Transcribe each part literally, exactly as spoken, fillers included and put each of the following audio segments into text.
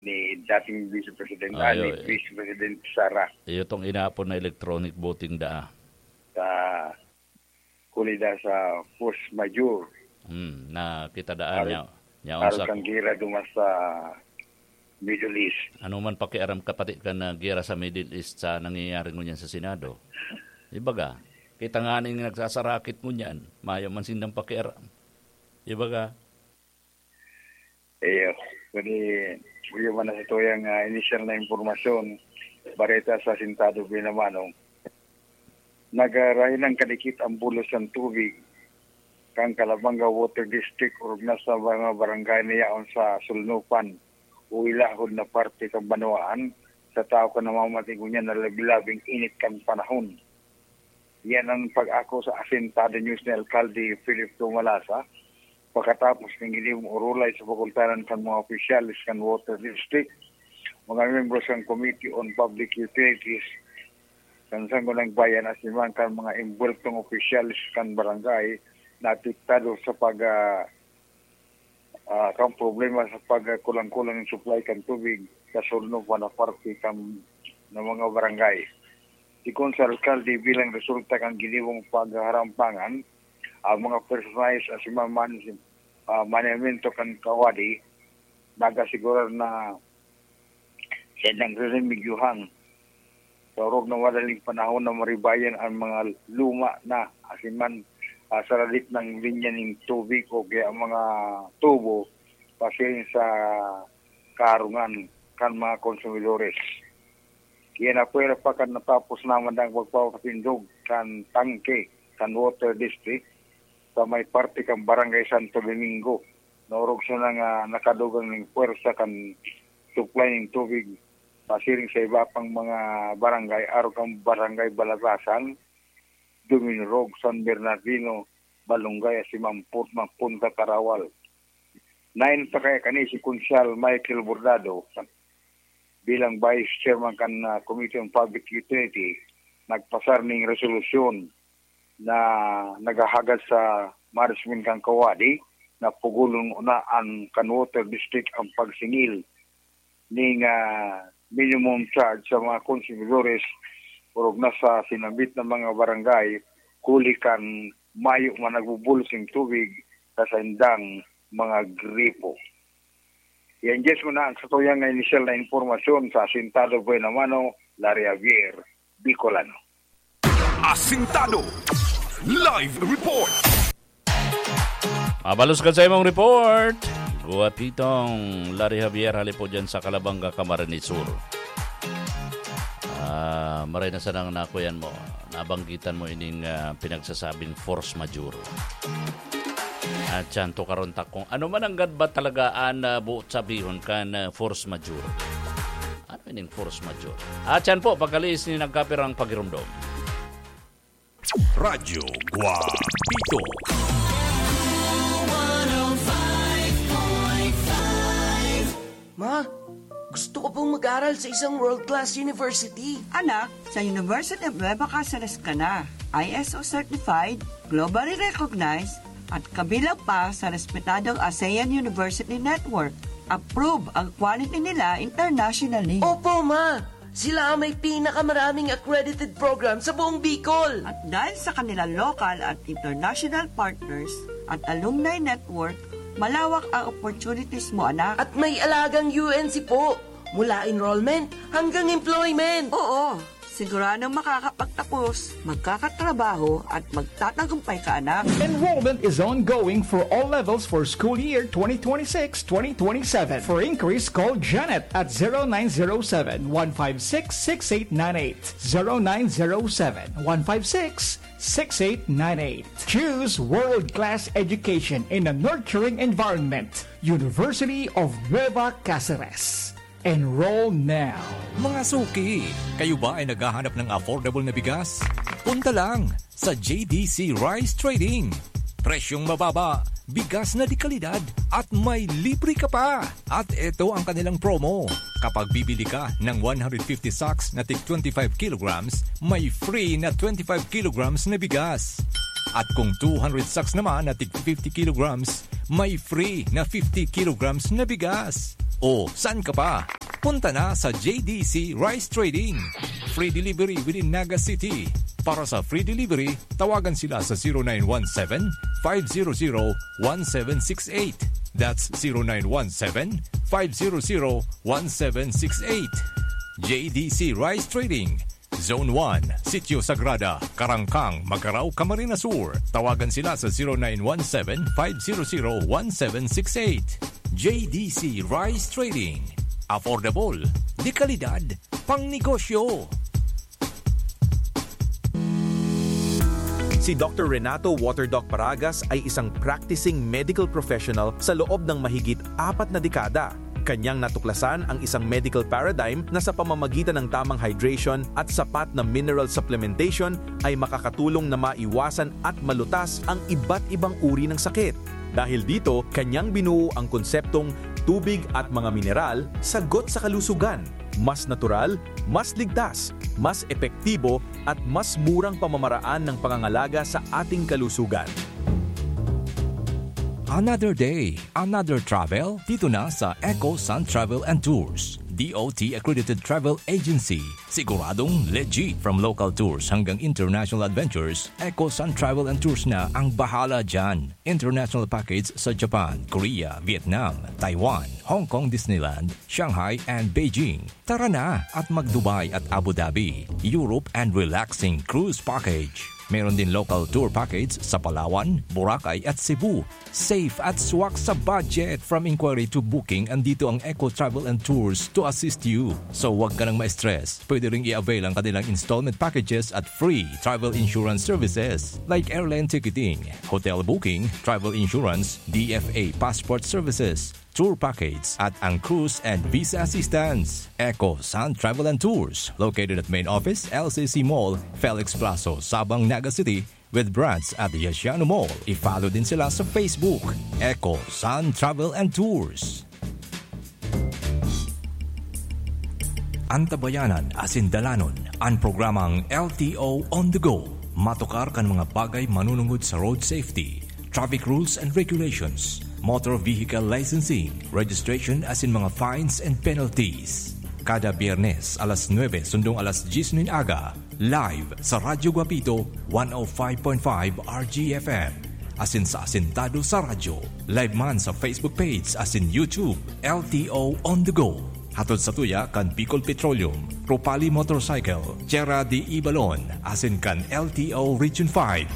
ni dating Vice President, ah, ni Ayo, eh. Vice President Sara. Iyo tong inapod na electronic voting da. Sa kulida sa force majeure. Hmm, na kita daan Aral, niya. Niya aral sa kang gira duman sa Middle East. Ano man pakiaram ka pati kan, ah, gera sa Middle East sa nangyayari ngunyan sa Senado? Ibaga, kita nga ning nagsasarakit ngunyan, mayo man sindang pakiaram. Ibaga, Iyo, kani, iyo man na sa tuyang, ah, inisyal na impormasyon, bareta sa Asintado Buenamano. Nagarahinang kadikit ang bulos ng tubig kan Calabanga Water District, orog na sa mga barangay na yaon sa Sulnupan o ilahod na parte kan banwaan, sa tao kan namamatig ngunyan na labi-labing init kan panahon. Yan ang pag-ako sa Asintado News ni Alkalde Philip Tumalasa, pagkatapos ning ginibong orolay sa pakultanan kan mga opisyales kan Water District, mga miyembro sa Committee on Public Utilities, kan Sangguniang Bayan, asin man kan mga imbuweltong opisyales kan barangay na apektado sa pag, ah, ah, kan problema sa pagkulang-kulang ng supply kan tubig sa Sulnupan na parte kan, ng mga barangay. Sigon sa alkalde, bilang resulta kan ginibong paghaharampangan, ang mga personalis asin man, ah, manamento kan kawadi, nag-asigurar na sa nagre-remedyohan sa orog na madaling panahon na maribayan ang mga luma na asin man, ah, saradit ng linya ning tubig o kaya ang mga tubo pasiring sa kaarungan kan mga konsumidores. Kaya napwera pa kan natapos naman ang pagpapatindog kan tangke kan Water District sa may parte kan Barangay Santo Domingo. Naorog siya na nga nakadugang ning pwersa kan supply ning tubig pasiring sa iba pang mga barangay, arog kan Barangay Balatasan, Duminurog, San Bernardino, Balungay, asin man Port-, Punta Tarawal. Nain pa kaya kani si Konsyal Michael Bordado bilang Vice Chairman kan, ah, Committee on Public Utility, nagpasar ning resolusyon na naghahagad sa management kan kawadi na pugulon na an kan Water District ang pagsingil ning, ah, minimum charge sa mga konsumidores orog na sa sinambit na mga barangay, huli kan mayo man nagbubulos ning tubig sa saindang mga gripo. Yan, Jess, muna ang satuyang inisyal na impormasyon sa Asintado Buenamano, Larry Javier, Bicolano. Asintado Live Report. Mabalos ka sa imong report. Guwapitong Larry Javier, hali po dyan sa Calabanga, Camarines Sur. Ah, maray na sanang nakuyan mo, nabanggitan mo ining, ah, pinagsasabing force majeure. At siyan to karon ta kung ano man ang gadbat talaga an, ah, buot sabihon kan, ah, force majeure. Ano ining force majeure? At siyan po, pagkaliis ni nagkapirang pagirumdom. Radyo Guapito. Ma, gusto ko pong mag-aral sa isang world-class university. Anak, sa University of Nueva Caceres ka na. I S O certified, globally recognized, at kabilang pa sa respetadong ASEAN University Network. Approve ang quality nila internationally. Opo, ma! Sila ang may pinakamaraming accredited program sa buong Bicol. At dahil sa kanilang local at international partners at alumni network, malawak ang opportunities mo, anak. At may alagang U N C po, mula enrollment hanggang employment. Oo, siguradong makakapagtapos, magkakatrabaho at magtatagumpay ka, anak. Enrollment is ongoing for all levels for school year twenty twenty-six twenty twenty-seven. For inquiries, call Janet at zero nine zero seven, one five six, six eight nine eight. Zero nine zero seven, one five six, six eight nine eight. Choose world-class education in a nurturing environment. University of Nueva Caceres. Enroll now. Mga suki, kayo ba ay naghahanap ng affordable na bigas? Punta lang sa J D C Rice Trading. Presyong mababa, bigas na de kalidad, at may libre ka pa. At eto ang kanilang promo. Kapag bibili ka ng one hundred fifty sacks na tig twenty-five kilograms, may free na twenty-five kilograms na bigas. At kung two hundred sacks naman na tig fifty kilograms, may free na fifty kilograms na bigas. O saan ka pa? Punta na sa J D C Rice Trading. Free delivery within Naga City. Para sa free delivery, tawagan sila sa zero nine one seven, five zero zero, one seven six eight. That's zero nine one seven, five zero zero, one seven six eight. J D C Rice Trading. Zone one, Sitio Sagrada, Karangkang, Magarao, Camarines Sur. Tawagan sila sa zero nine one seven, five zero zero, one seven six eight. J D C Rice Trading. Affordable, de kalidad, pang negosyo. Si Doctor Renato Waterdoc Paragas ay isang practicing medical professional sa loob ng mahigit apat na dekada. Kanyang natuklasan ang isang medical paradigm na sa pamamagitan ng tamang hydration at sapat na mineral supplementation ay makakatulong na maiwasan at malutas ang iba't ibang uri ng sakit. Dahil dito, kanyang binuo ang konseptong tubig at mga mineral, sagot sa kalusugan. Mas natural, mas ligtas, mas epektibo, at mas murang pamamaraan ng pangangalaga sa ating kalusugan. Another day, another travel, dito na sa Eco Sun Travel and Tours, D O T accredited travel agency. Siguradong legit. From local tours hanggang international adventures, Eco Sun Travel and Tours na ang bahala dyan. International package sa Japan, Korea, Vietnam, Taiwan, Hong Kong Disneyland, Shanghai, and Beijing. Tara na at mag-Dubai at Abu Dhabi, Europe, and relaxing cruise package. Meron din local tour package sa Palawan, Boracay, at Cebu. Safe at swak sa budget. From inquiry to booking, andito ang Eco Travel and Tours to assist you. So, wag ka nang ma-stress. Pwede ring i-avail ang kanilang installment packages at free travel insurance services like airline ticketing, hotel booking, travel insurance, D F A passport services, tour package, at ang cruise and visa assistance. Eco Sun Travel and Tours, located at main office, L C C Mall, Felix Plazo, Sabang, Naga City, with branch at Yasiano Mall. I-follow din sila sa Facebook, Eco Sun Travel and Tours. Antabayanan asin dalanon an programang L T O On The Go. Matukar kan mga bagay manunungod sa road safety, traffic rules and regulations, motor vehicle licensing, registration asin mga fines and penalties. Kada Biyernes, alas nuebe sundong alas dyes nin aga, live sa Radyo Guapito, one oh five point five R G F M. Asin sa Asintado sa Radyo. Live man sa Facebook page asin YouTube, L T O On The Go. Hatod sa tuya kan Bicol Petroleum, Ropali Motorcycle, Tierra de Ibalon, asin kan L T O Region five.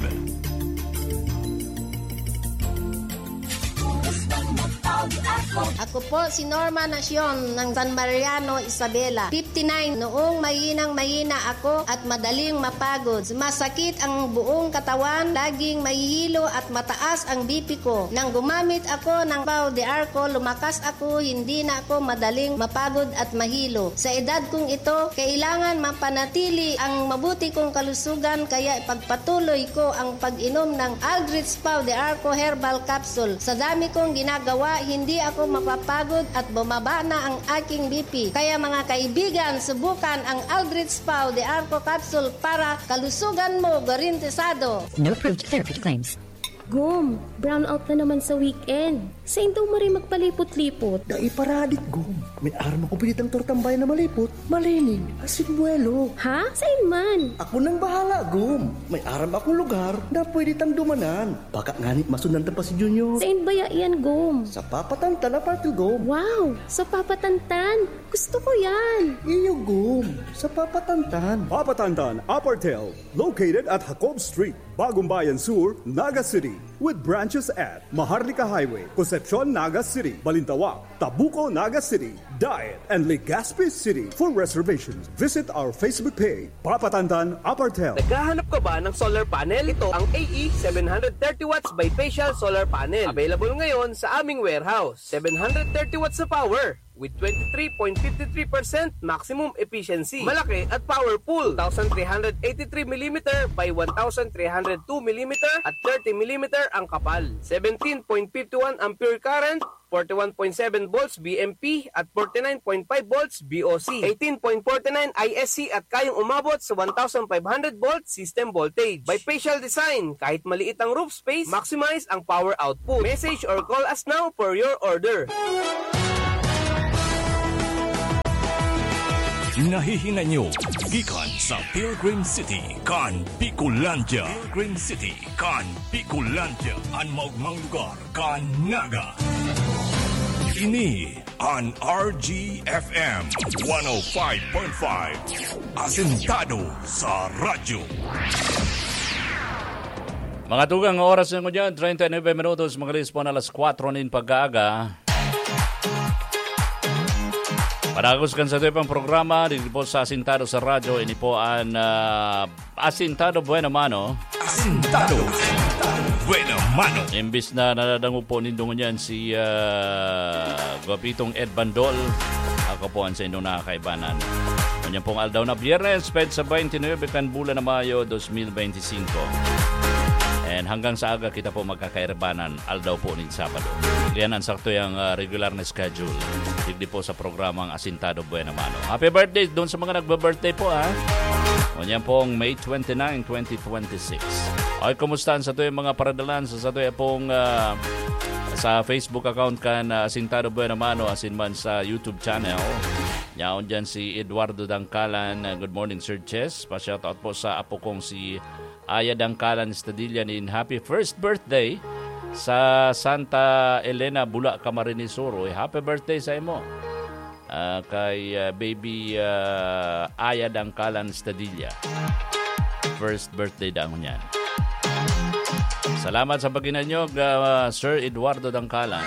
Ako po si Norma Nacion ng San Mariano, Isabela. Fifty-nine, noong mahinang mahina ako at madaling mapagod. Sumasakit ang buong katawan, laging mahihilo at mataas ang B P ko. Nang gumamit ako ng Pau de Arco, lumakas ako, hindi na ako madaling mapagod at mahilo. Sa edad kong ito, kailangan mapanatili ang mabuti kong kalusugan, kaya ipagpatuloy ko ang pag-inom ng Aldrich Pau de Arco Herbal Capsule. Sa dami kong ginagawa, hindi ako mapapagod at bumaba na ang aking B P. Kaya mga kaibigan, subukan ang Aldrich Pau de Arco Capsule para kalusugan mo garantisado. No approved therapy claims. Gom, brownout na naman sa weekend. Sain daw maray magpalipot-lipot? Dai paradik, Gom. May aram ako pinitang tortambay na malipot, malinig, asin buwelo. Ha? Sain man? Ako nang bahala, Gom. May aram akong lugar na pwede tang dumanan. Baka ngani masundan ta pa si Junior. Sain baya iyan, Gom? Sa Papatantan Apartel, Gom. Wow! Sa Papatantan? Gusto ko yan! Iyo, Gom. Sa Papatantan. Papatantan Apartel, located at Jacob Street, Bagumbayan Sur, Naga City. With branches at Maharlika Highway, Concepcion, Naga City, Balintawak, Tabuco, Naga City, Daet, and Legazpi City. For reservations, visit our Facebook page, Papatantan Apartel. Naghahanap ka ba ng solar panel? Ito ang A E seven hundred thirty watts bifacial solar panel. Available ngayon sa aming warehouse. Seven hundred thirty watts na power with twenty-three point five three percent maximum efficiency. Malaki at powerful. Two thousand three hundred eighty-three millimeter by one thousand three hundred two millimeter at thirty millimeter ang kapal. Seventeen point five one ampere current, forty-one point seven volts V M P at forty-nine point five volts V O C. Eighteen point forty-nine I S C at kayang umabot sa one thousand five hundred volt system voltage. Bifacial design, kahit maliit ang roof space, maximize ang power output. Message or call us now for your order. Nahihinay nyo gikan sa Pilgrim City kan Bicolandia. Pilgrim City kan Bicolandia, an maogmang lugar kan Naga. Ini an R G F M one oh five point five, Asentado sa Radyo. Mga tugang, oras na ngunyan, treinta y nueve minutos, mga lispo na alas kwatro nin pag-aaga. Padagos kan sa ito pang programa, dito po sa Asintado sa Radyo, ini po ang, ah, Asintado Buena Mano. Asintado Buena Mano. Imbis na nadadangog po nindo ngunyan si, ah, Guapitong Ed Bandol, ako po ang sa inyong nakakaibanan. Ngunyan pong aldaw na Biyernes, petsa twenty-nine kan bulan na Mayo, dos mil beintisinko. And hanggang sa aga kita po magkakairbanan, aldaw po nin Sabado. Yan ang sakto yang, ah, regular na schedule. Digdi po sa programang Asintado Buena Mano. Happy birthday doon sa mga nagbe-birthday po, ha? Ngunyan pong May twenty-nine, twenty twenty-six. Okay, kumusta ang sa tuwing mga paradalan sa, sa tuwing pong, ah, sa Facebook account kan, ah, Asintado Buena Mano, asin man sa YouTube channel? Yaon dyan si Eduardo Dangkalan. Ah, good morning, Sir Chess. Pa-shoutout po sa apo kong si Aya Dangkalan Stadilla nin happy first birthday sa Santa Elena, Bula, Camarines Sur. Uy, happy birthday sa imo. Ah, kay, ah, baby, ah, Aya Dangkalan Stadilla. First birthday daw niyan. Salamat sa paghinanyog, ah, Sir Eduardo Dangkalan.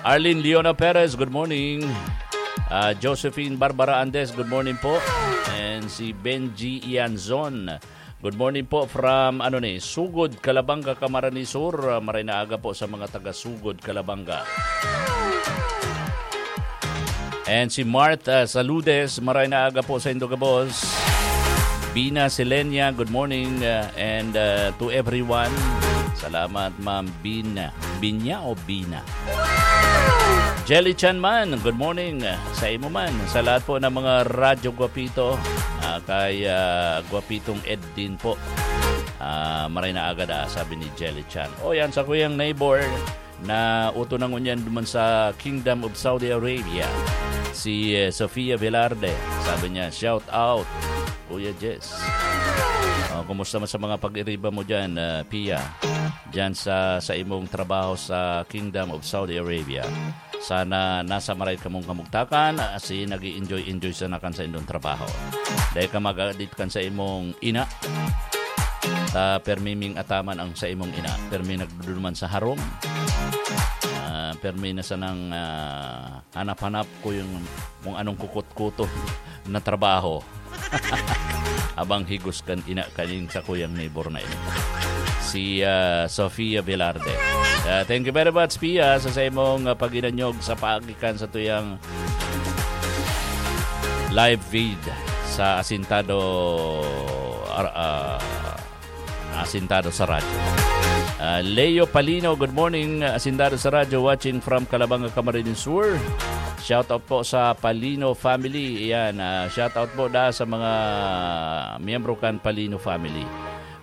Arlene Leona Perez, good morning. Ah, Josephine Barbara Andes, good morning po. And si Benji Ianzon, good morning po from, ano ni, Sugod, Calabanga, Camarines Sur. Ah, maray na aga po sa mga taga Sugod, Calabanga. And si Martha Saludes, maray na aga po sa indo gabos. Bina Selenia, good morning, uh, and, uh, to everyone. Salamat, Ma'am Bina. Binya o Bina? Jelly Chan man, good morning, uh, sa imo man. Sa lahat po ng mga Radyo Guapito, uh, kay, uh, Guapitong Ed din po. Ah, maray na aga da, sabi ni Jelly Chan. O yan, sa kuyang neighbor na uto na ngunyan duman sa Kingdom of Saudi Arabia, si, eh, Sofia Velarde. Sabi niya, "Shout out, Kuya Jess." Oh, kumusta man sa mga pag-iriba mo dyan, ah, Pia? Dyan sa, sa imong trabaho sa Kingdom of Saudi Arabia. Sana nasa maray kamong kamugtakan, asin nag-i-enjoy-enjoy sana kan sa indong trabaho. Dai ka mag-adit kan sa imong ina. Ta permi ming ataman ang sa imong ina. Permi nagduduman sa harong. Ah, permi na sanang, ah, hanap-hanap ko yung kung anong kukot-kuto na trabaho. Abang higos kan ina kaning sa kuyang neighbor na ini. Si, ah, Sofia Velarde. Ah, thank you very much, Pia, sa, sa imong, ah, pag-inanyog sa paagikan sa tuyang live feed sa Asintado, ar-, ah, Asintado sa Radyo. Ah, Leo Palino, good morning, Asintado sa Radyo, watching from Calabanga, Camarines Sur. Shout out po sa Palino family. Ayan, ah, shout out po da sa mga miyembro kan Palino family.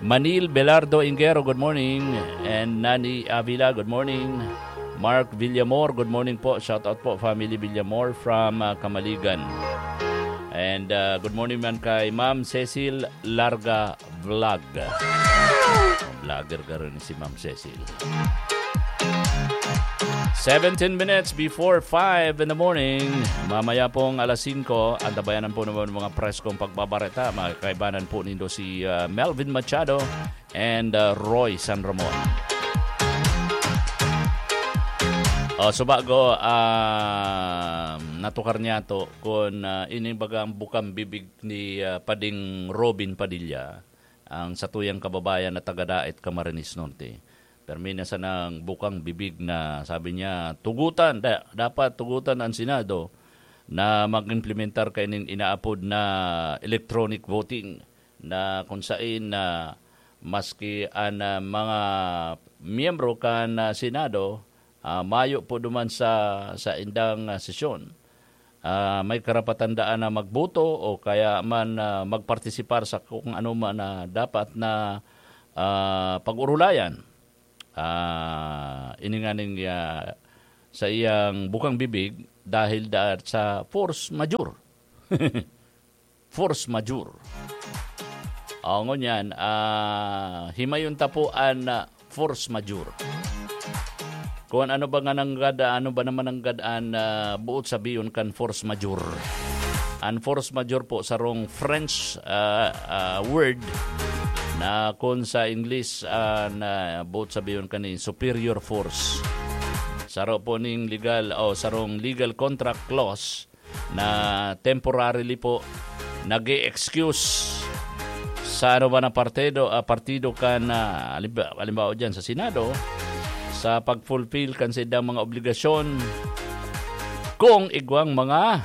Manil Belardo Ingero, good morning. And Nani Avila, good morning. Mark Villamor, good morning po. Shout out po, family Villamor from, ah, Kamaligan. And, ah, good morning man kay Ma'am Cecil Larga Vlog. Vlogger ka rin si Ma'am Cecil. Seventeen minutes before five in the morning. Mamaya pong alas singko, antabayanan po naman mga preskong pagbabareta. Makakaibanan po nindo si, ah, Melvin Machado and, ah, Roy San Ramon. O, so bago, ah, natukar niya to, kun, ah, ini bagang bukang bibig ni, ah, Pading Robin Padilla, ang satuyang kababayan na taga Daet, Camarines Norte. Permi na sanang bukang bibig na sabi niya, tugutan, da-, dapat tugutan ang Senado na mag-implementar kaining inaapod na electronic voting na kung sain na maski an, ah, mga miyembro kan, ah, Senado, ah, mayo po duman sa, sa indang, ah, sesyon, ah, may karapatan daan na magboto o kaya man, ah, magpartisipar sa kung ano man na dapat na, ah, pag-urulayan. Ah, ini nganing, ah, sa iyang bukang bibig dahil da-, sa force majeure. force majeure. O, ngunyan, ah, himayon ta po an, ah, force majeure. Kung ano ba nga nanggad, ano ba naman nanggad an, ah, buot sabihon kan force majeure? An force majeure po, sarong French, ah, ah, word na kun sa English, ah, na buot sabihon kani superior force. Saro po ning legal o sarong legal contract clause na temporarily po nag-e-excuse sa ano ba na partido, ah, partido kan, ah, halimbawa, halimbawa dyan sa Senado, sa pag-fulfill kan saindang mga obligasyon kung igwang mga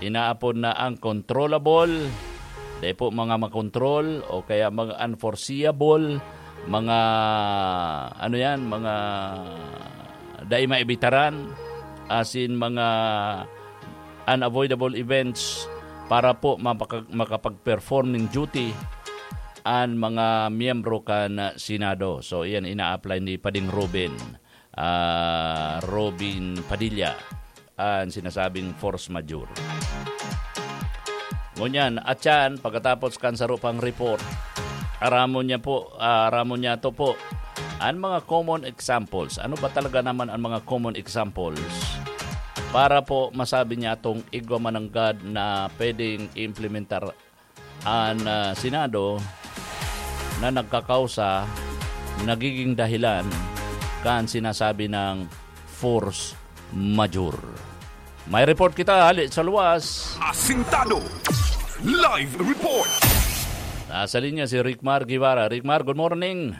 inaapod na uncontrollable, dai po mga makontrol o kaya mga unforeseeable, mga ano yan, mga dai maibitaran, asin mga unavoidable events para po mapaka-, makapag-perform ning duty an mga miyembro kan Senado. So, iyan ina-apply ni Pading Robin, ah, Robin Padilla, an sinasabing force majeure. Ngunyan, atyan, pagkatapos kan saro pang report, aramon niya po, ah, aramon niya to po, an mga common examples. Ano ba talaga naman ang mga common examples para po masabi niya itong igwa mananggad na pwedeng implementar an, ah, Senado na nagkakausa, nagiging dahilan kan sinasabi ng force majeure? May report kita hali sa luwas. Asintado. Live report. Nasa linya si Rickmar Guevara. Rickmar, good morning.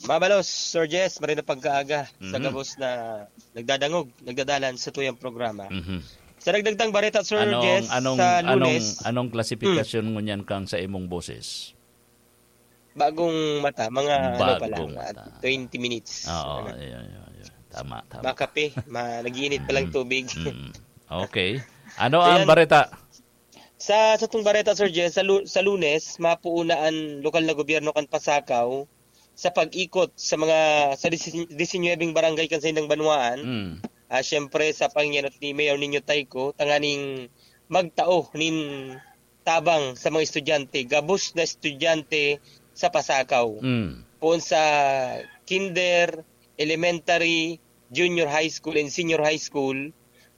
Mabalos, Sir Jess, maray na pagkaaga sa Mhm. gabos na nagdadangog, nagdadalan sa tuyang programa. Mhm. Sa dagdag tang bareta, Sir Anong, Jess, anong, sa anong, Lunes, anong klasifikasyon ngunyan kang sa imong boses? Bagong mata, mga ano pa lang, Bagong ah, mata. twenty minutes. Oo, Ano? ayun, ayun, ayun. Tama, tama. Makape, ma-, nag-iinit pa lang Mm. tubig. Mm. Okay. Ano ang Ayan. bareta? Sa, sa tong bareta, Sir Jess, sa Lu-, sa Lunes, mapuuna an lokal na gobyerno kan Pasakaw sa pag-ikot sa mga, sa disi-, disinuyebeng barangay kan saindang banwaan. Mm. Ah, siyempre, sa pangenot ni Mayor Nino Tayco, tanganing magtao nin tabang sa mga estudyante, gabos na estudyante sa Pasakaw. Mm. Poon sa kinder, elementary, junior high school, and senior high school,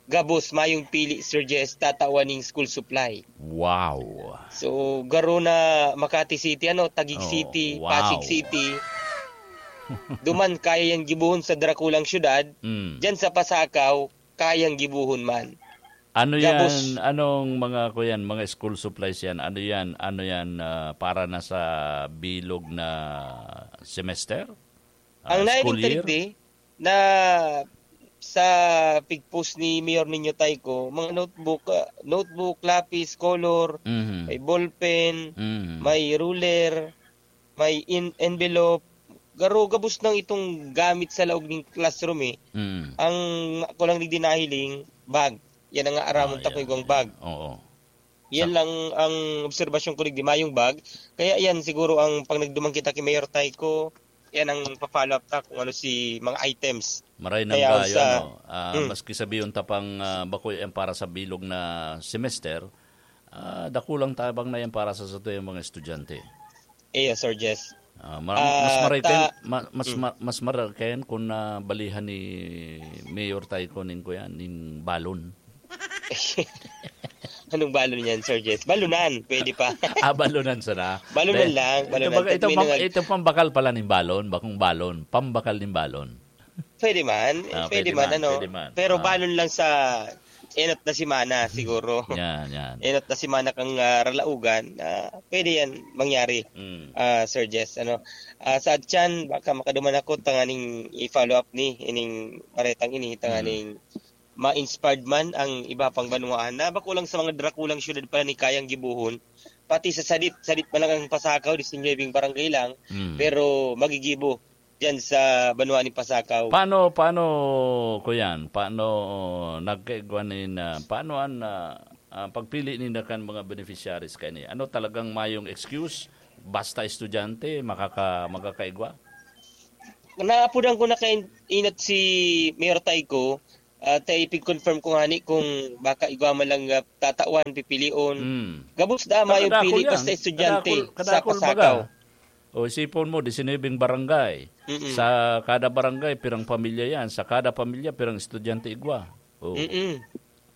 gabos mayong pili, Sir Jess, tatawan ning school supply. Wow. So, garo na Makati City, ano, Taguig Oh, City, wow. Pasig City. Duman, kaya yang gibohon sa drakulang syudad. Mm. Diyan sa Pasakaw, kayang gibohon man. Ano Gabos. yan? Anong mga, kuyan, mga school supplies yan? Ano yan? Ano yan, ah, para na sa bilog na semester? Ah, Ang school year? naining na sa pigpos ni Mayor Nino Tayco, mga notebook, ah, notebook, lapis, color, Mhm. may ballpen, Mhm. may ruler, may in-, envelope. Garo, gabos nang itong gamit sa laog ning classroom, eh. Mm. Ang ako lang digdi nahiling, bag. Yan ang aaramon Ah, ta yan, kung igwang yan. bag. Oo. Yan Sa lang ang obserbasyon ko digdi, mayong bag. Kaya yan siguro ang pag nagduman kita ki Mayor Tayco, yan ang pa-follow up ta kung ano si mga items. Maray nang Kaya gayo, sa ano, ah, Mm. maski sabihon ta pang, ah, bako yan para sa bilog na semester, ah, dakulang tabang na yan para sa satuyang mga estudyante. Iyo, Sir Jess. Ah, ma-, mas Ah, maray ta kayan, ma-, mas Mm. ma-, mas maray kayan kung nabalihan ni Mayor Tayco ning kuya, ning balon. Anong balon yan, Sir Jess? Balunan, pwede pa. Ah, balunan sana. Balunan Be-, lang, ito balunan. baga-, Pag ito may pang-, nangag- ito pambakal pala ning balon, bakong balon, pambakal ning balon. Pwede man, Ah, pwede pwede man, man, ano. pwede man. Pero Ah. balon lang sa enot na semana, siguro. Yan, yan. Enot na semana kang, ah, ralaugan, ah, pwede yan mangyari, Mm. ah, Sir Jess, ano. Ah, sa atyan, baka makaduman ako, tanganing i-follow up ni, ining baretang ini, Mm. tanganing ma-inspired man ang iba pang banwaan na bako lang sa mga drakulang syudad pala ni kayang gibohon. Pati sa sadit, sadit man lang ang Pasakaw, disinuyebeng barangay lang, Mm. pero magigibo diyan sa banwa ni Pasakaw. Paano, paano, kuyan? Paano nagkaigwa nin, ah, paano an, ah, ah, pagpili ninda kan mga beneficiaries kaini? Ano talagang mayong excuse? Basta estudyante, makaka-, makakaigwa? Naapodan ko na kay inot si Mayor Tayco, Ah, ta ipig-confirm ko ngani kung baka igwa man lang, ah, tatawan, pipilion. Hmm. Gabos da, mayong Kadakol pili, yan. basta estudyante Kadakol, sa kadakol Pasakaw. baga. O, isipon mo, disinibing barangay. Mm-mm. Sa kada barangay, pirang pamilya yan. Sa kada pamilya, pirang estudyante igwa. O. Mm-mm.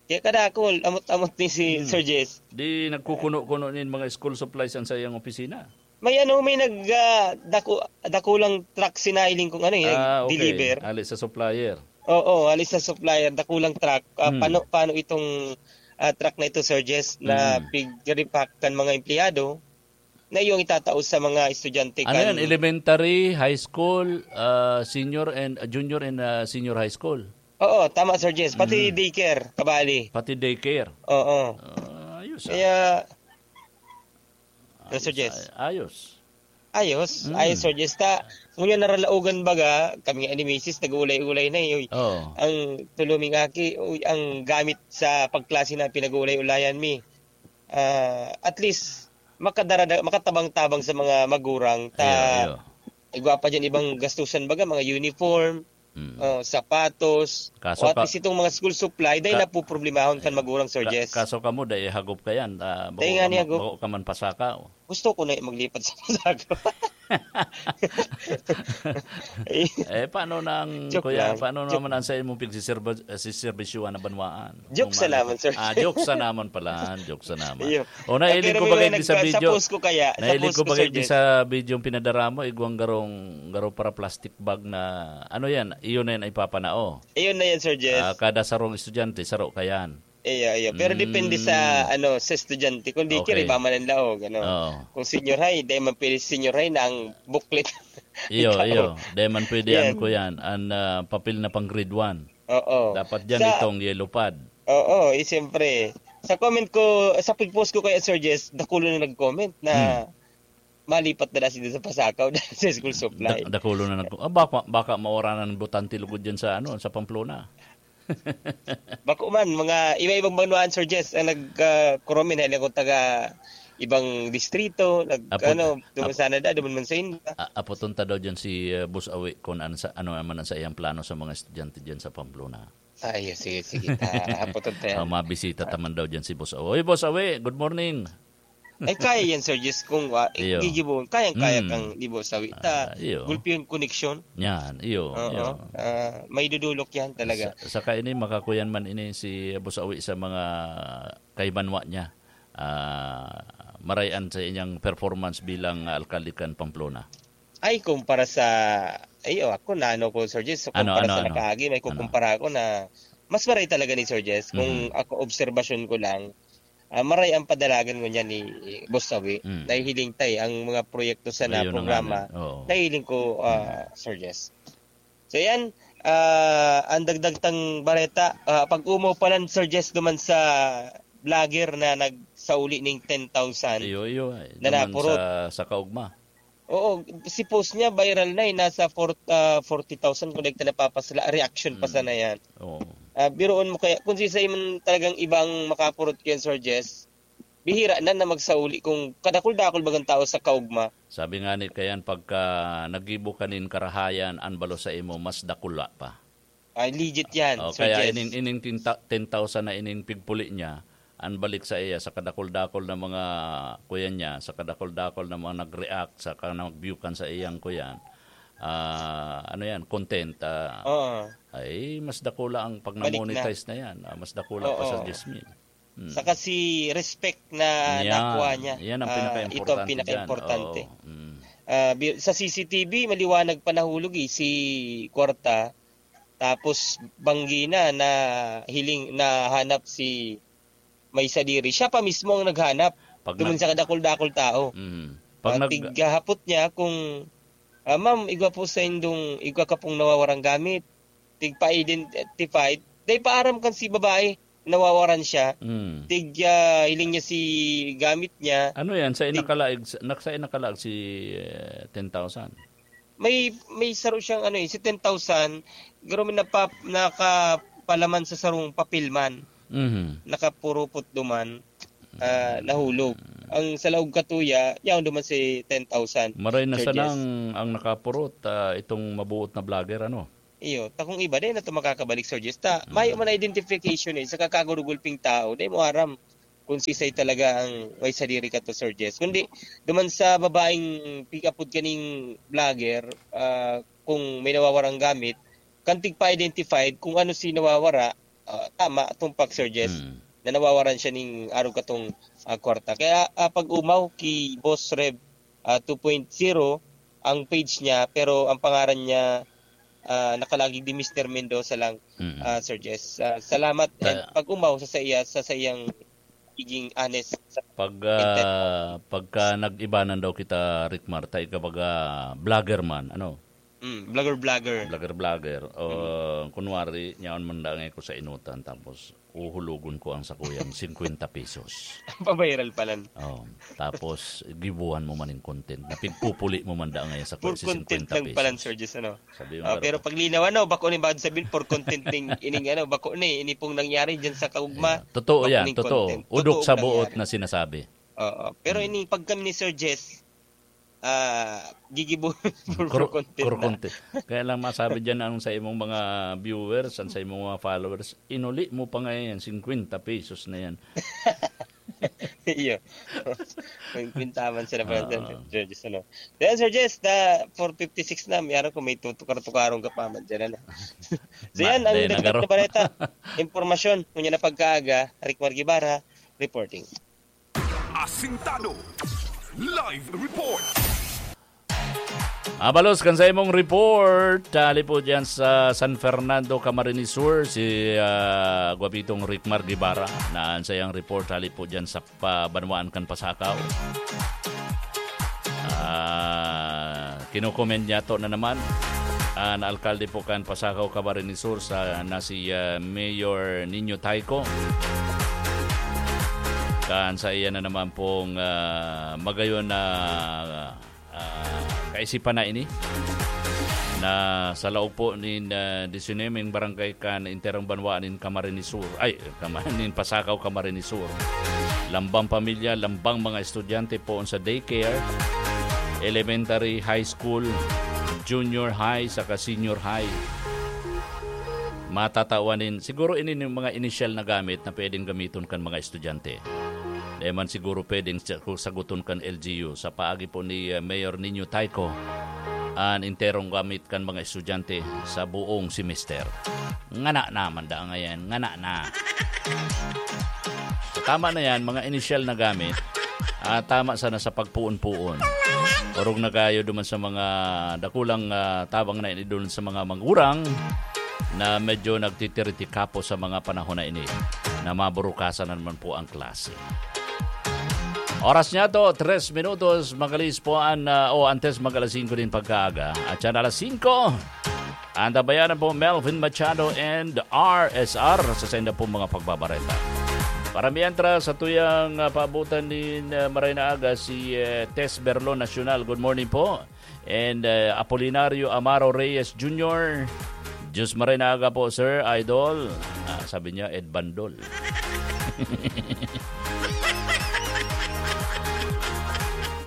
Kaya kadakol, amot-amot ni si Hmm. Sir Jess. Di nagkukuno-kuno nin mga school supplies ang sa iyang opisina. May ano, may nag, ah, daku-, dakulang truck sinahiling kung ano, eh, Ah, okay. nag-deliver. Ali sa supplier. Oo, ali sa supplier, dakulang truck. Ah, Hmm. pano, pano itong, ah, truck na ito, Sir Jess, na Hmm. pig-repack kan mga empleyado na iyong itatao sa mga estudyante Ano kan yan? Elementary, high school, ah, senior and, ah, junior and, ah, senior high school? Oo, tama, Sir Jess. Pati Hmm. daycare, kabali. Pati daycare? Oo. Ah, ayos, ah. Kaya, Ayos, Sir Jess. ay-, ayos. Ayos. Mm. Ayos, Sir Jess. Ta, ngunyan naralaogan baga, kami nga ni misis, nag-uulay-ulay na, eh. Oo. Ang tuluming aki, uy, ang gamit sa pagklase na pinag-uulay-ulayan mi. Ah, at least, makadarada-, makatabang-tabang sa mga magurang. Ta, Iyo, iyo. igwa pa dyan ibang gastusan baga, mga uniform, Mm. oh, sapatos, Kaso o at ka- least itong mga school supply, dahil ka- napuproblemahon kan Ayan. magurang, Sir Ka-, Jess. kaso kamo, dai hagop ka yan. Ah, bako Dai nga ka ni ma-, hagop. bako ka man pasaka, oh. Gusto ko na maglipat sa pasaka. Eh, paano na ang, Joke kuya, lang. paano Joke. naman ang sa imong pagsiserba-, eh, siserbisyuhan na banwaan? Joke Kung sa ano naman, ka- sir. Ah, joke sa naman pala. Joke sa naman. Iyo. O, nahiling Pero ko may bagay mga di sa nagka-, sa video. post ko kaya, sa Nahiling post ko ko, bagay Sir di Jess. sa video yung pinadara mo, igwang garong, garong para plastic bag na, ano yan? Iyon na yan ay papanao. Iyon na yan, Sir Jess. Ah, kada sarong estudyante, saro ka yan. Iyo, iyo. Pero depende sa, Mm. ano, sa estudyante. Kung di Okay. kira, iba man ang laog, ano. Oo. Kung senior high, di man pwede senior high na ang booklet. Iyo, Ikaw. iyo. Di man pwede Yan. ang kuyan, ang, ah, papel na pang grade one. Oo. Dapat dyan Sa itong yellow pad. Oo, eh, siyempre. Sa comment ko, sa pag-post ko kay Sir Jess, dakulo na nag-comment na Hmm. malipat na lang sila sa Pasakaw dahil sa school supply. Da-, dakulo na nag-, ah, baka, baka mawara na ng botante lugod dyan sa, ano, sa Pamplona. Bako man, mga iba-ibang banwaan, Sir Jess, ang nag, ah, kuromin, hali akong taga ibang distrito, nag, Apo-, ano, duman apo-, sana da, duman man sa inyo. a-, apoton ta daw dyan si, ah, Boss Awi kung ano sa, ano naman ang sa iyang plano sa mga estudyante dyan sa Pamplona. Ay, sige, sige. Ta, apoton ta yan. Oh, mabisita ta man daw dyan si Boss Awi. Oy, Boss Awi, good morning. Ay, kaya yan, Sir Jess, kung, ah, Iyo. gigibohon, kayang-kaya Mm. kang gibo sa wi-, ta, Ah, iyo. gulpi yung koneksyon. Yan, iyo, Oo. iyo. Ah, may dudulok yan talaga. Sa, saka ini, makakuyan man ini si Boss Awi sa mga kaibanwa niya. Ah, marayan sa inyang performance bilang, ah, alkalde kan Pamplona. Ay, kumpara sa, ay, oh, ako na ano ko, Sir Jess, so, Ano, kumpara ano, sa ano? nakaagi, may Ano? kukumpara ako na mas maray talaga ni Sir Jess. Kung Mhm. ako, obserbasyon ko lang, ah, maray ang padalagan ngunyan ni Boss Sawi. Mm. Nahihiling tay ang mga proyekto sa na Ayun na nga programa. na. Oo. Nahihiling ko, ah, Mm. Sir Jess. So, yan, ah, ang dagdag tang bareta, ah, pag-umaw pa lang, Sir Jess, duman sa vlogger na nagsauli ning ten thousand Iyo, iyo, ay. na Duman napurot. sa, sa kaugma. Oo, si post niya viral na eh, nasa four, ah, forty thousand kung di ka napapasala, reaction pa Mm. sana yan. Oo. Ah, biruon mo kaya, kung sisay man talagang ibang makapurot kay Sir Jess, bihira na na magsauli kung kadakul-dakul bagang tao sa kaugma. Sabi nga ni Kayan, pagka nagibo ka nin karahayan, an balos sa imo mas dakula pa. Ay, legit yan, Oh, Sir kaya Jess. ining, ining tinta-, ten thousand na ining pigpuli niya, an balik sa iya sa kadakul-dakul na mga kuya niya, sa kadakul-dakul na mga nag-react, sa ka-, nag-view kan sa iyang kuyan, ah, ano yan, content, ah, Oo. ay mas dakula ang pag Balik na. na-monetize na yan. Ah, mas dakula pa sa Oo. diyes mil. Mm. Saka si respect na Yan. nakuha niya. Yan ang Ah, pinaka-importante ito ang dyan. pinaka-importante. Oo. Mm. Ah, bi-, sa C C T V, maliwanag pa nahulog eh, si Kwarta. Tapos banggi na, nahiling, nahanap si may sadiri. Siya pa mismo ang naghanap. Pag Duman nag- sa kadakul-dakul tao. Mhm. Pag Ah, nag- tighapot niya kung, "Ah, ma'am, igwa po sa indong, igwa ka pong nawawarang gamit." Tigpa-identify. Dahil paaram kan si babae, nawawaran siya. Mm. Tig, ah, hiling niya si gamit niya. Ano yan? Sa Tig- inakalaag, sa, nak-, sa inakalaag si, eh, ten thousand? May, may saro siyang ano eh, si ten thousand, garo may napa-, nakapalaman sa sarong papel man. Mhm. Nakapurupot duman, ah, nahulog. Ang sa laog katuya, yaon duman si ten thousand, Maray na Sir Jess. sanang ang nakapurot, ah, itong mabuot na vlogger, ano? Iyo, ta kung iba, dai na to makakabalik, Sir Jess. Ta, mayo man na identification eh, sa kakagurugulping tao, dai mo aram kung sisay talaga ang may sadiri ka to, Sir Jess. Kundi, duman sa babaeng pick-up pod kaning vlogger, ah, kung may nawawarang gamit, kan tigpa-identified kung ano si nawawara, ah, tama, tumpak, Sir Jess, Mm. na nawawaran siya ning arog katong, ah, kwarta. Kaya, ah, pag-umaw ki Boss Rev, ah, two point zero ang page niya, pero ang pangaran niya, ah, nakalagig di Mister Mendoza lang, Mm. ah, Sir Jess. Ah, salamat and Kaya pag-umaw sa saiya, sa saiyang pagiging honest sa Pag, content. ah, pagka nag-ibanan daw kita, Rick Marta, ikaw baga vlogger man, ano? Mm, vlogger, vlogger. Vlogger, vlogger. O, Mm. kunwari, yaon man dangay ko sa inutan, tapos uhulogon ko ang sakuyang singkwenta pesos. Paviral palan. Oh, tapos, gibuhan mo man yung content. Napigpupuli mo man dangay sa For si content singkwenta lang palan, pesos. Sir Jess, ano? Sabi mo, Ah, pero pero paglinaw, ano, bako ni bad sabihin, for content ning, ining, ano, bako ni, ini pong nangyari dyan sa kaugma. Yeah. Totoo Bako yan, ning totoo. content. Udok Totoo sa buot nangyari. na sinasabi. Oo. Pero Mm. ini, pag kami ni Sir Jess, ah, gigibo for, for Kuro-, content kuro na. content. Kaya lang masabi dyan ang sa imong mga viewers, ang sa imong mga followers, inuli mo pa ngayon yan, singkwenta pesos na yan. Iyo. May kwintaman sila pala Oo. dyan, Sir Jess, ano? Then, Sir Jess, na four fifty-six na, may araw ko may tutukar-tukaron ka pa man dyan, ano? So, Ma-, yan ang dahil dagdag nagaro- na baleta. Impormasyon, ngunyan na pagkaaga, Rick Margibara, reporting. Asintado. Live report. Abalos kan sa imong report, hali po dyan sa San Fernando, Camarines Sur, si, ah, Guapitong Rick Margibara. Naan sa iyang report, hali po dyan sa pa-, banwaan kan Pasakaw. Ah, kinokomend niya to na naman. An alkalde po kan Pasakaw, Camarines Sur, sa, na si, ah, Mayor Nino Tayco. Kan sa iya na naman pong, ah, magayon na, ah, kaisipan na ini, na sa laog po nin, ah, disinuyemeng barangay kan enterong banwa nin Camarines Sur, ay, Cama-, nin Pasakaw, Camarines Sur. Lambang pamilya, lambang mga estudyante poon sa daycare, elementary, high school, junior high, saka senior high. Matatawan nin, siguro ini nin mga inisyal na gamit na pwedeng gamiton kan mga estudyante. Di man siguro pwedeng sa-, saguton kan L G U. Sa paagi po ni, eh, Mayor Nino Tayco, an enterong gamit kan mga estudyante sa buong semester. Ngana naman da ngayon, ngana na. So, tama na yan, mga inisyal na gamit. Ah, tama sana sa pagpuon-puon. Orog na kayo duman sa mga dakulang, ah, tabang na inidol sa mga magurang na medyo nagtitiritikapo sa mga panahon na ini na maburukasan na naman po ang klase. Oras niya to, tres minutos, magalis po an, ah, o antes mag alas singko din pagkaaga. At yan alas singko, antabayanan po Melvin Machado and R S R sa senda po mga pagbabareta. Para mientras, sa tuyang, ah, paabutan ni, ah, Maray na Aga, si, eh, Tess Berlon Nacional. Good morning po. And, eh, Apolinario Amaro Reyes Junior. Diyos maray na aga po, Sir Idol. Ah, sabi niya, Ed Bandol.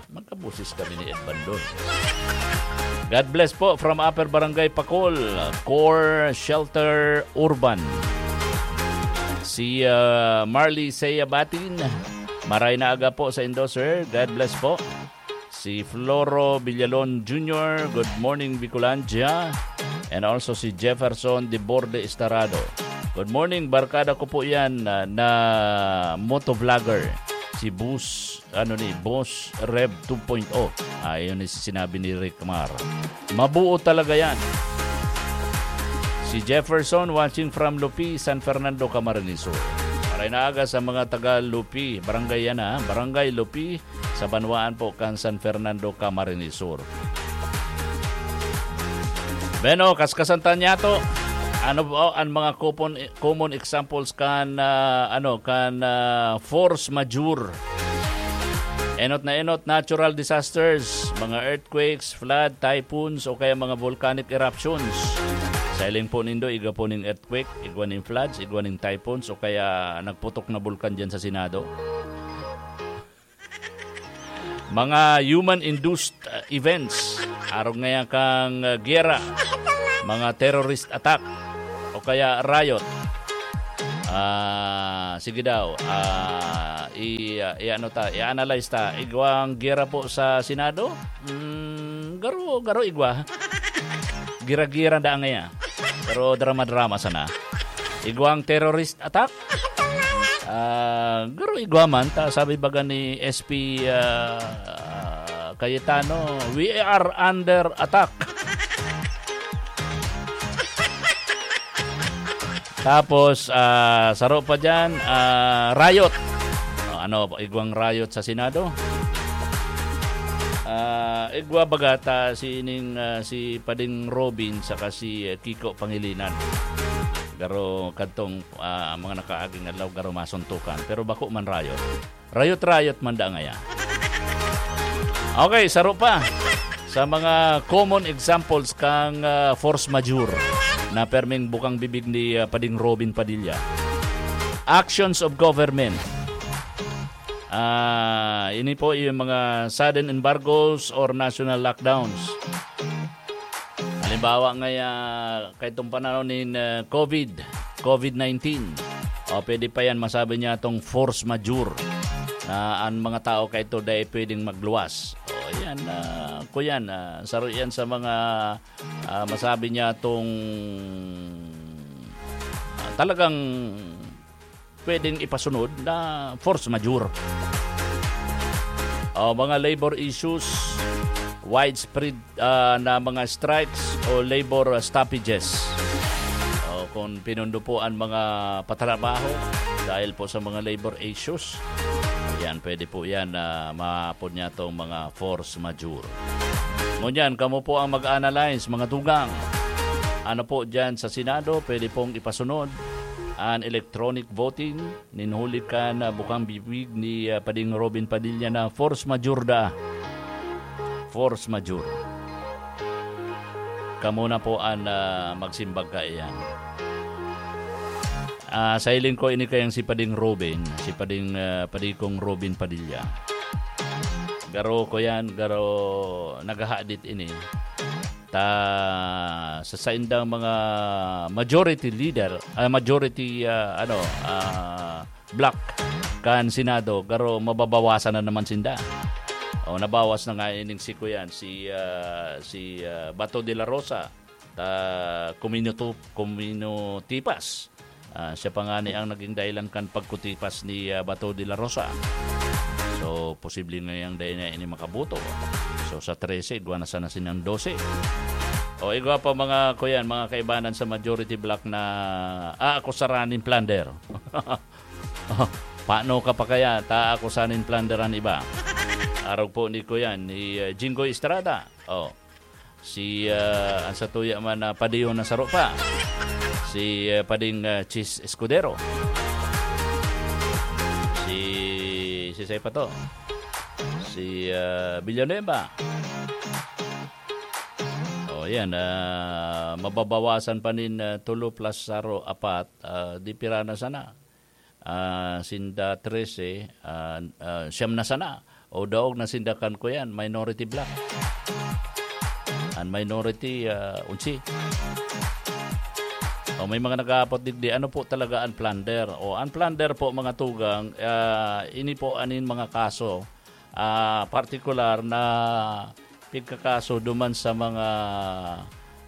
Magkaboses kami ni Ed Bandol. God bless po from Upper Barangay Pacol, Core Shelter Urban. Si, ah, Marley Seyabatin, maray na aga po sa indo, sir. God bless po. Si Floro Villalon Junior, good morning, Bicolandia. And also si Jefferson de Borde Estarado. Good morning, barkada ko po yan na, na motovlogger. Si Bus, ano ni, Boss Rev two point oh. Ayun ni sinabi ni Rick Mar. Mabuo talaga yan. Si Jefferson watching from Lupi, San Fernando, Camarines Sur. Maray na aga sa mga taga Lupi. Barangay yan, ha? Barangay Lupi, sa banwaan po kan San Fernando, Camarines Sur. Beno, kaskasan ta niya to. Ano ba ang mga common, common examples kan, ah, ano, kan, ah, force majeure? Enot na enot, natural disasters, mga earthquakes, flood, typhoons, o kaya mga volcanic eruptions. Sa hiling po nindo, igwa po ning earthquake, igwa ning floods, igwa ning typhoons, o kaya nagputok na bulkan dyan sa Senado. Mga human-induced, uh, events, arog ngaya kang, uh, giyera, mga terrorist attack o kaya riot. Ah, sige daw. Ah, i, i-ano ta, i-analyze ta. Igwang giyera po sa Senado? Mm, garo, garo igwa. Gira-gira daan ngaya. Pero drama-drama sana. Igwang terrorist attack? Ah, garo igwa man ta, sabi baga ni S P, ah, Cayetano, "We are under attack." Tapos, ah, saro pa diyan, ah, riot. O, ano, igwang riot sa Senado? Ah, igwa baga ta si ining, ah, si Pading Robin saka si, eh, Kiko Pangilinan. Pero kadtong, ah, mga nakaaging adlaw garo masuntukan. Pero bako man riot. Riot-riot man da ngaya. Okay, saro pa sa mga common examples kang, ah, force majeure na perming bukang bibig ni, ah, Pading Robin Padilla. Actions of government. Ah, ini po yung mga sudden embargoes or national lockdowns. Halimbawa ngaya, kaitong panahon nin, ah, COVID, COVID nineteen. O, pwede pa yan, masabi niya itong force majeure na ang mga tao kaito dai pwedeng magluwas. O, yan, ah, kuyan, ah, saro yan sa mga, ah, masabi niya itong, ah, talagang pwedeng ipasunod na force majeure. O, mga labor issues, widespread, ah, na mga strikes o labor, ah, stoppages. O, kung pinundo po ang mga patrabaho dahil po sa mga labor issues, yan, pwede po yan na maapod niya itong mga force majeure. Ngunyan, kamo po ang mag-analyze, mga tugang. Ano po dyan sa Senado, pwede pong ipasunod ang electronic voting nin huli kan, ah, bukang bibig ni, ah, Pading Robin Padilla na force majeure da. Force majeure. Kamo na po an, ah, magsimbag kaiyan. Ah, sa hiling ko, ini kayang si Pading Robin, si Pading, ah, Padikong Robin Padilla. Garo ko yan, garo naghahadit ini. Ta sa saindang mga majority leader, ah, majority, ah, ano, ah, bloc kan Senado, garo mababawasan na naman sinda. O, nabawas na nga ining si kuyan, si, ah, si, ah, Bato de la Rosa, ta kumino tu-, kumino tipas. Ah, siya pa nga ni ang naging dahilan kan pagkutipas ni, ah, Bato de la Rosa. So, posible ngayang dai na ini makaboto. So, sa trese, igwa na sana sinang dose. O, igwa pa mga kuyan, mga kaibanan sa majority bloc na aakusaran nin plunder. Paano ka pa kaya ta aakusaran nin plunder an iba? Arog po ni kuyan, ni, ah, Jinggoy Estrada. O, si, ah, ang satuya man na padiyon na saro pa. Si, ah, Pading, ah, Chis Escudero. Si, si Sey pa to. Si, ah, Villanueva. O, yan, ah, mababawasan pa nin, ah, tulo plus saro, apat, ah, di pira na sana. Ah, sinda trese, ah, ah, siyam na sana. O daog na sinda kan kuyan, minority bloc. An minority, ah, onse. O, may mga nag-aapot digdi, ano po talaga an plunder? O, an plunder po, mga tugang, ah, ini po anin mga kaso, ah, partikular na pigkakaso duman sa mga,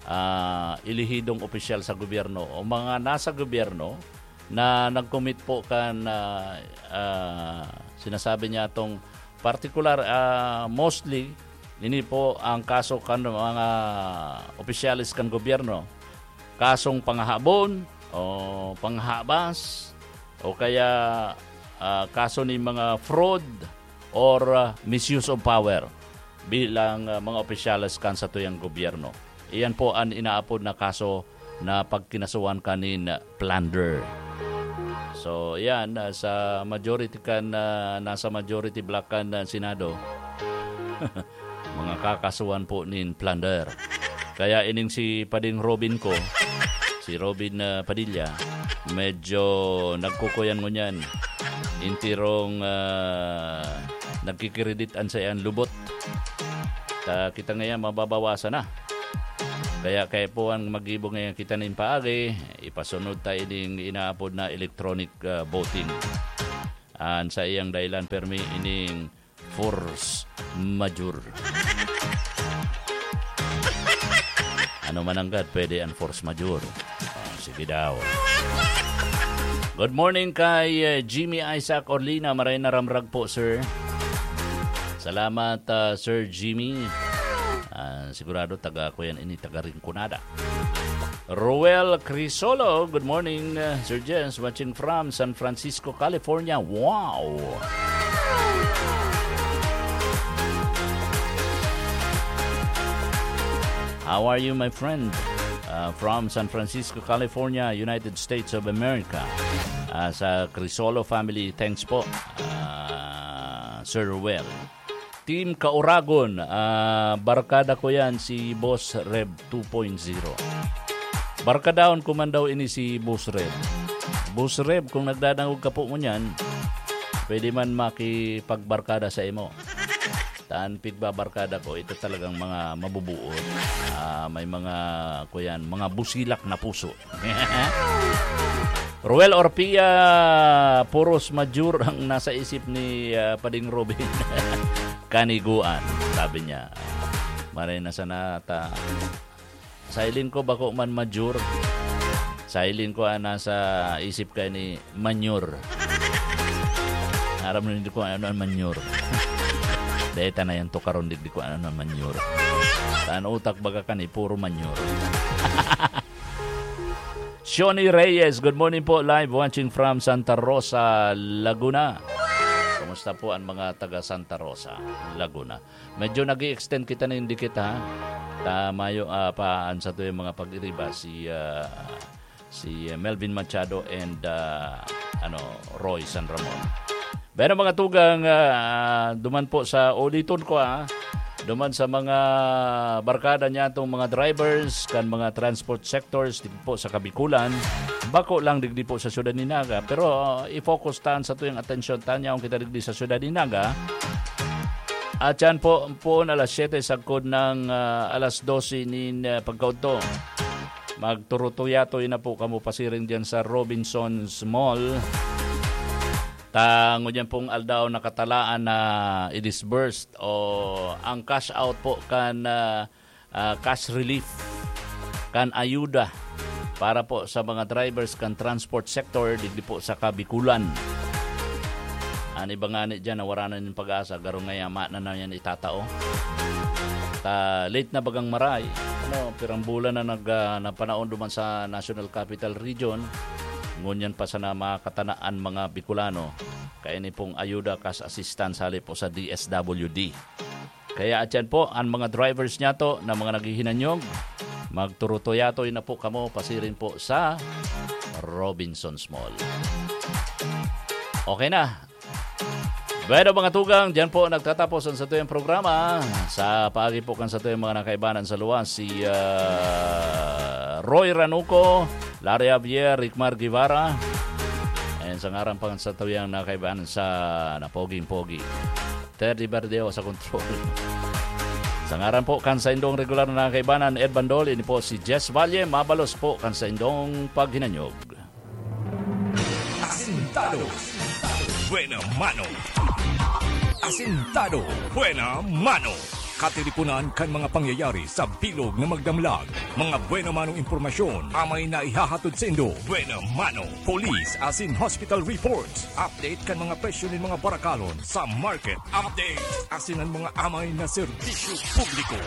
ah, elehidong opisyal sa gobyerno o mga nasa gobyerno na nag-commit po kan, ah, ah, sinasabi niya tong partikular, ah, mostly, ini po ang kaso kan mga opisyales kan gobyerno. Kasong pangahabon o panghabas o kaya, ah, kaso ni mga fraud or, ah, misuse of power bilang, ah, mga opisyales kan satuyang gobyerno. Iyan po an inaapod na kaso na pagkinasuhan kanin plunder. So, yan, ah, sa majority kan, ah, nasa majority bloc kan, ah, Senado, mga kakasuhan po nin plunder. Kaya ining si Pading Robin ko, si Robin, ah, Padilla, medyo nagkukuyan ngunyan. Intirong, ah, nagkikiredit an sayan lubot. Ta kita ngayon, mababawasan na. Kaya, kaya po ang mag-ibo ngayon kita nin paagi, ipasunod tayo ding inaapod na electronic, ah, voting. An sa iyang dahilan, permi ining force majeure. Ano man ang God, pwede ang force majeure. Ah, sige daw. Good morning kay, eh, Jimmy Isaac Orlina. Maray na ramrag po, sir. Salamat, ah, Sir Jimmy. Ah, sigurado taga ko yan, ini taga Rinconada. Roel Crisolo, good morning, uh, Sir Jens, watching from San Francisco, California. Wow! How are you, my friend? Uh, from San Francisco, California, United States of America. Uh, sa Crisolo family, thanks po, uh, Sir Roel. Team Kauragon, ah, barkada ko yan, si Boss Rev two point zero. Barkadahon ko man daw ini si Boss Rev. Boss Rev, kung nagdadangog ka po ngunyan, pwede man makipagbarkada sa imo. Tan pigbabarkada ko, ito talagang mga mabubuot. Ah, may mga, kuyan, mga busilak na puso. Roel Orpia, puros majeure ang nasa isip ni, ah, Pading Robin. Kaniguan, sabi niya. Maray na sana ta. Sa hiling ko, bako man majeure. Sa hiling ko, ang nasa isip ka ni manure. Aram mo, hindi ko ano ang manure. Dahil ta na yan, tukaron, di, di ko ano ang manure. Sa ang utak, baga ka ni, puro manure. Shoni Reyes, good morning po. Live watching from Santa Rosa, Laguna. Kumusta po ang mga taga Santa Rosa, Laguna? Medyo nag-i-extend kita na yung dikit, ha? Ta mayo, ah, pa, an sa to yung mga pag-iriba, si, ah, si Melvin Machado and, ah, ano, Roy San Ramon. Pero mga tugang, ah, duman po sa, uliton ko, ah, duman sa mga barkada niya, itong mga drivers, kan mga transport sectors, digdi po sa Kabikulan, bako lang digdi po sa syudad ni Naga, pero, ah, i-focus tan sa tuyang atensyon tan yaon kita digdi sa syudad ni Naga. At yan po, poon alas siyete sagkod ng, ah, alas dose nin, ah, pagkaudto. Magturutuyatoy na po kamo pasiring diyan sa Robinsons Mall. Ta ngunyan pong aldaw nakatalaan na i-disburse o ang cash out po kan, ah, ah, cash relief, kan ayuda para po sa mga drivers kan transport sector digdi po sa Kabikulan. An iba ngani diyan, nawara na nin pag-asa, garo ngaya mayo na yan itatao. Ta late na bagang maray. Ano, pirang bulan na nag, ah, napanaon duman sa National Capital Region. Ngunyan pa sana makatana an mga Bicolano. Kaya ini pong ayuda, cash assistance, hali po sa D S W D. Kaya atyan po, an mga drivers niyato na mga naghihinanyog, magturutuyatoy na po kamo pasiring po sa Robinsons Mall. Okay na. Bueno, mga tugang, diyan po nagtatapos ang satuyang programa. Sa paagi po kan satuyang mga nakaibanan sa luwas, si, ah, Roy Ranuco, Larry Javier, Rickmar Guevara. And sa ngaran pa kan satuyang nakaibanan sa napoging-pogi, Teddy Verdeo sa control. Sa ngaran po kan saindong regular na nakaibanan, Ed Bandol, ini po si Jess Valle, mabalos po kan saindong paghinanyog. Asintado. Buena mano. Asintado. Buena mano. Katiriponan kan mga pangyayari sa bilog na magdamlag. Mga buena manong impormasyon amay na ihahatod saindo. Buena mano. Police asin hospital reports. Update kan mga presyo nin mga barakalon sa market. Update asin an mga amay na serbisyo publiko.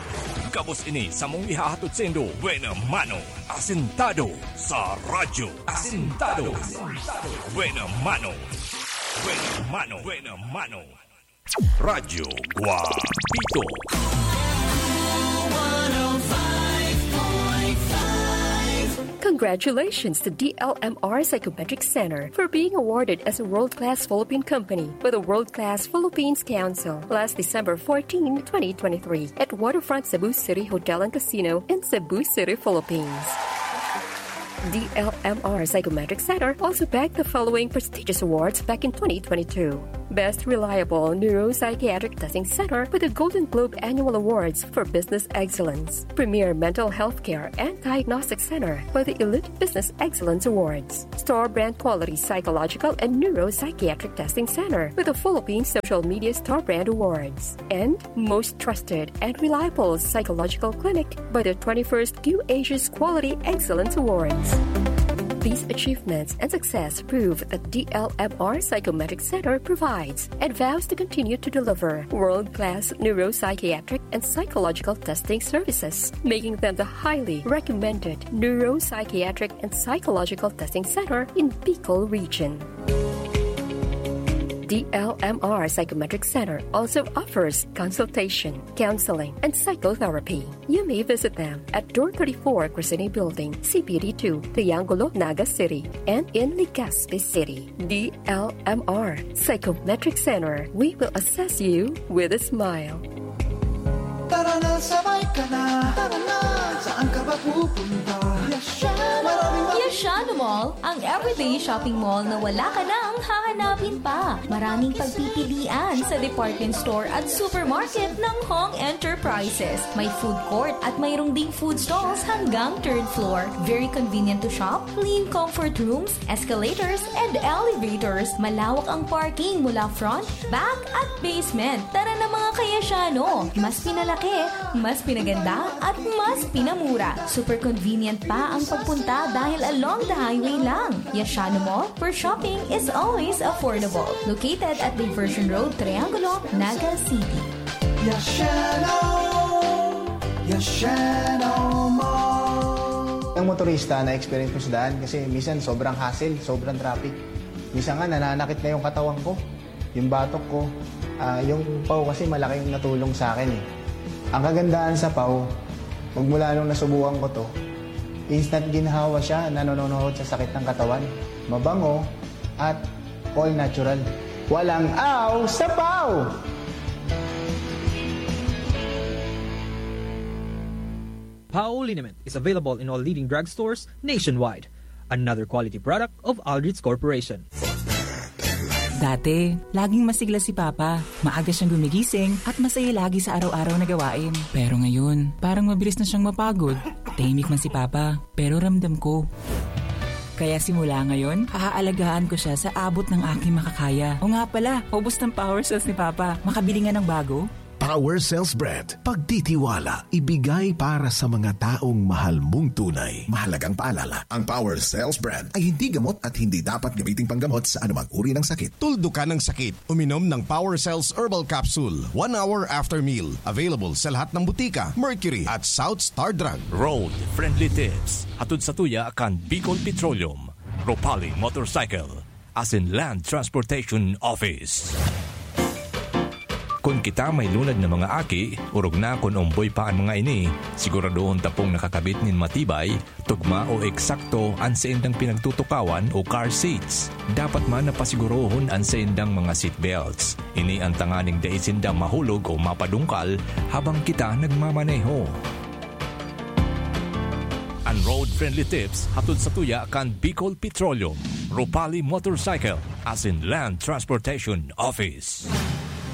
Gabos ini samong ihahatod saindo. Buena mano. Asintado sa radyo. Asintado. Buena mano. Buena mano. Buena mano. Radyo Guapito. Congratulations to D L M R Psychometric Center for being awarded as a world-class Philippine company by the World Class Philippines Council last December fourteen, twenty twenty-three, at Waterfront Cebu City Hotel and Casino in Cebu City, Philippines. D L M R Psychometric Center also bagged the following prestigious awards back in twenty twenty-two. Best Reliable Neuropsychiatric Testing Center with the Golden Globe Annual Awards for Business Excellence. Premier Mental Health Care and Diagnostic Center with the Elite Business Excellence Awards. Star Brand Quality Psychological and Neuropsychiatric Testing Center with the Philippine Social Media Star Brand Awards. And most trusted and reliable psychological clinic by the twenty-first Q Asia's Quality Excellence Awards. These achievements and success prove that D L M R Psychometric Center provides and vows to continue to deliver world-class neuropsychiatric and psychological testing services, making them the highly recommended neuropsychiatric and psychological testing center in Bicol region. D L M R Psychometric Center also offers consultation, counseling, and psychotherapy. You may visit them at Door thirty-four, Crescene Building, C P D two, Triangulo, Naga City, and in Legazpi City. D L M R Psychometric Center, we will assess you with a smile. Tara na, sabay ka na. Tara na, saan ka ba pupunta? Yashan! Maraming Yashano Mall, ang everyday shopping mall na wala ka nang hahanapin pa. Maraming pagpipilian sa department store at supermarket ng Hong Enterprises. May food court at mayroong ding food stalls hanggang third floor. Very convenient to shop, clean comfort rooms, escalators, and elevators. Malawak ang parking mula front, back, at basement. Tara na, mga kayasyano! Mas pinalaki, mas pinaganda, at mas pinamura. Super convenient pa ang pagpunta dahil along the highway lang. Yashano Mall, where shopping is always affordable. Located at Diversion Road, Triangulo, Naga City. Yashano! Yashano Mall! Ang motorista, na-experience ko sa daan kasi minsan sobrang hassle, sobrang traffic. Minsan nga, nananakit na yung katawan ko, yung batok ko. Ah, yung paw kasi malaking natulong sa akin eh. Ang kagandahan sa paw, magmula nung nasubukan ko to, instant ginhawa siya, nanononohot sa sakit ng katawan. Mabango at all natural. Walang aw sa paw! Pao liniment is available in all leading drugstores nationwide. Another quality product of Aldrich Corporation. Dati, laging masigla si Papa. Maaga siyang gumigising at masaya lagi sa araw-araw na gawain. Pero ngayon, parang mabilis na siyang mapagod. Tahimik man si Papa, pero ramdam ko. Kaya simula ngayon, aaalagaan ko siya sa abot ng aking makakaya. O nga pala, ubos ng power cells ni Papa. Makabili nga ng bago. Power Cells Brand. Pagtitiwala, ibigay para sa mga taong mahal mong tunay. Mahalagang paalala, ang Power Cells Brand ay hindi gamot at hindi dapat gamiting panggamot sa anumang uri ng sakit. Tuldukan ang sakit. Uminom ng Power Cells Herbal Capsule one hour after meal. Available sa lahat ng butika, Mercury at South Star Drug. Road Friendly Tips. Hatod sa tuya kan Bicol Petroleum, Ropali Motorcycle, asin Land Transportation Office. Kun kita may lunad na mga aki, orog na kun omboy pa an mga ini, siguradohon ta pong nakakabit nin matibay, tugma o eksakto an saindang pinagtutukawan o car seats. Dapat man na pasigurohon an saindang mga seat belts. Ini an tanganing dai sinda mahulog o mapadungkal habang kita nagmamaneho. An Road Friendly Tips hatod sa tuya kan Bicol Petroleum, Ropali Motorcycle, asin Land Transportation Office.